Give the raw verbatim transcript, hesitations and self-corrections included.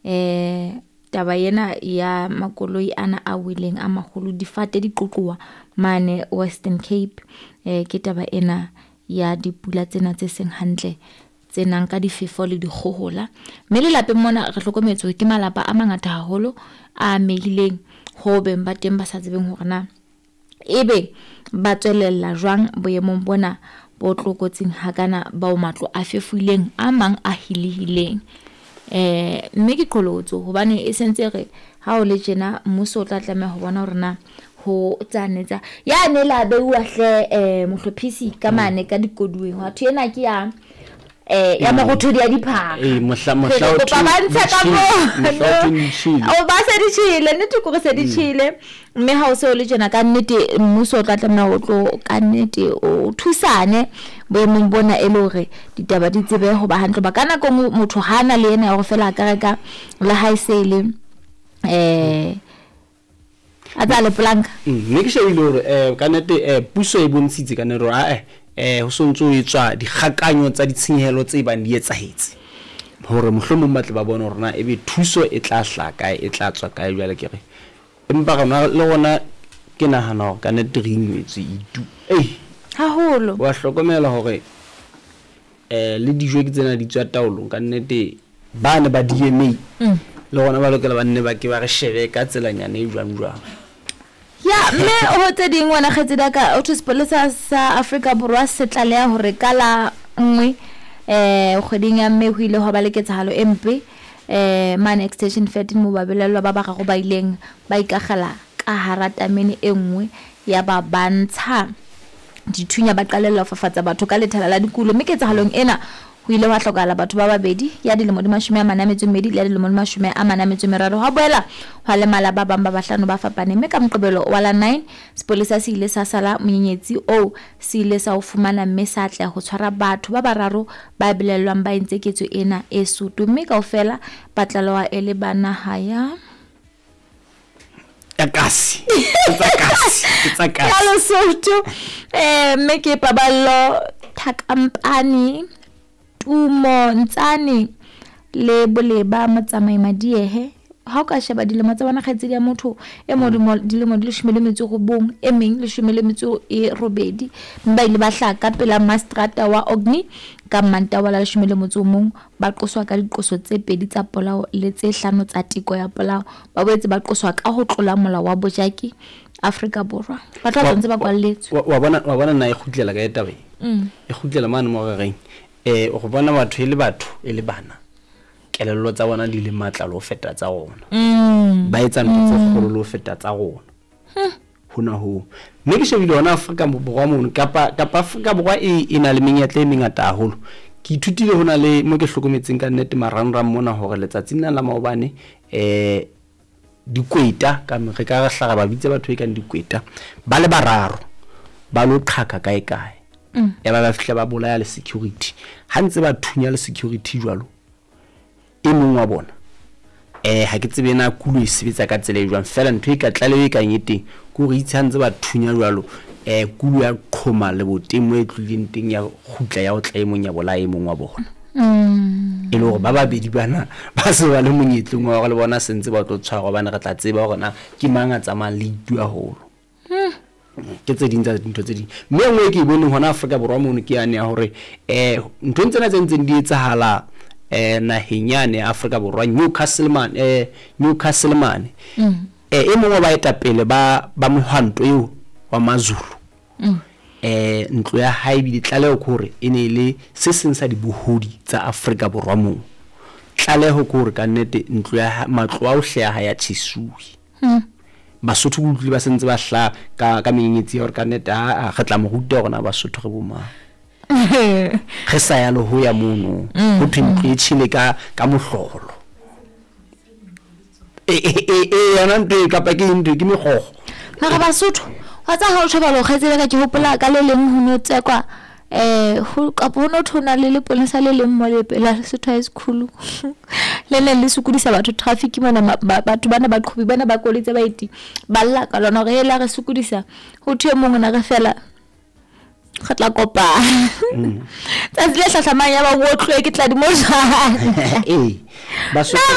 Eh taba ena ya makoloi ana a weleng a maholo, difate di qoqowa mane Western Cape. Eh ke taba ena ya dipula tsena tse seng hantle tse nang ka difefo le dikgohola. Mme lelapeng mona re hlokometse hore ke malapa a mangata haholo a amehileng ho beng ba teng ba sa tsebeng hore na ebe ba tswelella jwang boemong bona bo tlokotsing hakana bao matlo a fefoileng a mang a hilehileng. Eh mme ke qholotso hobane e sentse re ha o le tjena mmuso o tla tlameha ho bona hore na ho tsane tsa ya ne la beuwa hle eh mohlophisi ka mane ka dikoduweng wa thwe ena ke ya eh ya marothodi a diphaka. Ee, mohla mohla Re o kopa thwe ba ntshe ka di tjhele, moo. mohla o thwe di tjhele. O ba se di tjhele, nnete ke hore se di tjhele. Mme ha o se o le tjena ka nnete mmuso o tla tlameha ho tlo ka nnete o thusane boemong bona e le hore ditaba di tsebe ho ba hantle. Hoba ka nako e nngwe motho ha na le ena ya hore feela a ka reka le ha e se le eh a tsa le planka. Mm, mme ke shebile hore eh ka nnete eh puso e bontshitse ka nnete hore ae eh ho sontso ho etswa dikgakanyo tsa ditshenyehelo tse bang di etsahetse hore mohlomong ba tle ba bone hore na ebe thuso e tla hlaha kae, e tla tswa kae. Jwale ke re empa rona le rona ke nahana hore ka nnete re ingwetswe itu ei Haholo. wa hlokomela hore eh le dijo ke tsena di tswa taolong ka nnete ba ne ba D M A Mm. le rona ba lokela ba nne ba ke ba re shebe ka tselanyana e jwang jwang. Ya mme ho tse ding wena kgaitsedi ya ka, o thwe sepolesa sa Afrika Borwa se tlaleha hore ka la nngwe eh kgweding ya Mme ho ile hwa ba le ketsahalo e mpe eh mane Extension thirteen moo babelaellwa ba bararo ba ileng ba ikakgela ka hara tamene e nngwe ya ba ba ntsha dithunya ba qalella ho fafatsa batho ka lethala la dikulo. Mme ketsahalong ena ho ile hwa hlokahala batho ba babedi, ya dilemo di mashome a mane a metso e mmedi le ya dilemo di mashome a mane a metso e meraro. Hwa boela hwa lemala ba bang ba bahlano ba fapaneng. Mme ka Moqebelo wa la nine sepolesa se ile sa sala monyenyetsi oo se ile sa o fumana mme sa atleha ho tshwara batho ba bararo ba belellwang ba entse ketso ena e soto. Mme kaofela ba tlalewa e le ba naha ya ya kasi. Ke tsa kasi, ke tsa kasi. Ya Lesotho. Eh mme ke Paballo Thakampane, Tumo Ntsane le Boleba Motsamai Madiehe. Ha o ka sheba dilemo tsa bona kgaitsedi ya motho e mo dilemo, dilemo di leshome le metso e robong, e meng leshome le metso e robedi. Mme ba ile ba hlaha ka pela mastrata wa Orkney ka Mantaha wa la leshome le motso o mong, ba qoswa ka diqoso tse pedi tsa polao le tse hlano tsa teko ya polao. Ba boetse ba qoswa ka ho tlola molao wa bojaki Afrika Borwa. Ba tla Wa- ntse ba kwalletswe. Wa, wa bona, wa bona na e kgutlela kae taba e? Mm. E kgutlela mane mo re reng, eh, o bona batho e le batho e le bana, kelello tsa bona di le matla le ho feta tsa rona. Mm. Ba etsa ntho tse kgolo le ho feta tsa rona. Hmm. Hona hoo. Mme ke shebile hona Afrika Borwa mono, kapa, kapa Afrika Borwa e, e na le menyetla e mengata haholo. Ke ithutile hona le mo ke hlokometseng ka nnete marangrang mona hore letsatsing lena la maobane, eh, dikweta, ka re ka re hla ra ba bitsa batho e kang dikweta, ba le bararo ba lo qhaka kae kae. Mm. Ya ba ba fihla ba bolaya le security. Ha ntse ba thunya le security jwalo, e mong wa bona, eh, ha ke tsebe na kulo e sebetsa ka tsela e jwang, fela ntho e ka tlaleho e kang e teng ke hore itse ha ntse ba thunya jwalo, eh, kulo ya qhoma leboteng moo e tlohileng teng ya kgutla ya otla e mong ya bolaya e mong wa bona. Mm. E le hore ba babedi bana ba se ba le monyetleng wa hore le bona se ntse ba tlo tshwarwa, hobane re tla tseba hore na ke mang a tsamayang le itu haholo. Mm. Ke tse ding tsa dintho tse ding. Mme e nngwe e ke e boneng hona Afrika Borwa mono ke yane ya hore, eh, nthong tsena tse ntseng di etsahala, eh, naheng yane ya Afrika Borwa, Newcastle mane, eh, Newcastle mane. Mm. Eh, e mong wa baetapele ba, ba mohwanto eo wa Mazulu. Mm. Eh, ntlo ya hae ebile tlaleho ke hore e ne e le se seng sa dibohodi tsa Afrika Borwa moo. Tlaleho ke hore ka nnete ntlo ya ha-, matlo a ohle a hae a tjhesuwe. Mm. Basotho ke utlwile ba sentse ba hlaha ka, ka menyenyetsi ya hore ka nnete, a, a, re tla mo ruta hore na Basotho re bo mang. Re sa ya le ho ya mono. Mm. Ho thwe ntlo e tjhele ka, ka mohlolo. E, e, e, e, yona ntho e kapa ke eng ntho e, ke megogo. Mara Basotho, wa tseba ha o tjho jwalo, kgaitsedi ya ka, ke hopola ka le leng ho no tsekwa, eh, ho, kapa ho no thwe ho na le lepolesa le leng mo lepela Lesotho High School. Le neng le sokodisa batho traffic mona, ma-, ba-, batho bana ba qhobi bana ba koloi tse baeti, ba lla ka lona hore hela re sokodisa. Ho thwe e mong o na re fela re tla kopana. Mm. Tsatsi le hlahlamang ya ba o otluwe ke tladi mo jwang. Ee, Basotho Na